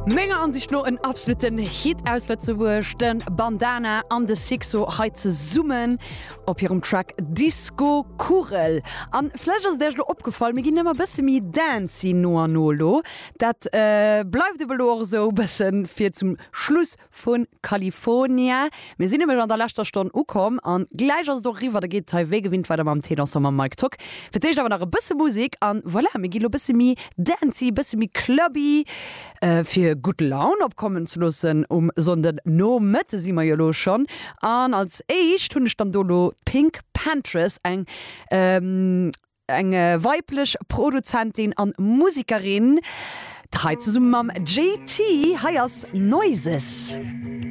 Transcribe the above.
Menger Ansicht no en absoluten Hit aus Lëtzebuerg, de Bandana an de Sixo hei zesummen op hirem Track Disco Kugel. An vläicht ass et Iech elo opgefall, mir ginn ëmmer bësse méi dancy no an no elo. Dat bleift ebe lo och esou bëssen fir zum Schluss Vu California. Mir sinn nämlech an der leschter Stonn ukomm an gläich ass et och eriwwer. Da geet et hei wéi gewinnt weider mam Thé Dansant mam Mike Tock. Fir d'éischt awer nach e bësse Musek an voilà, mir gi lo bësse méi dancy, bësse méi clubby, fir gutt Laun opkommen ze loossen um Sonnden Nomëtte si mer jo lo schonn. An als éischt hunn ech dann do lo d'PinkPantheress, eng Eng weiblech Produzentin an Musekerin, hei zesumme mam JT. Hei ass Noises.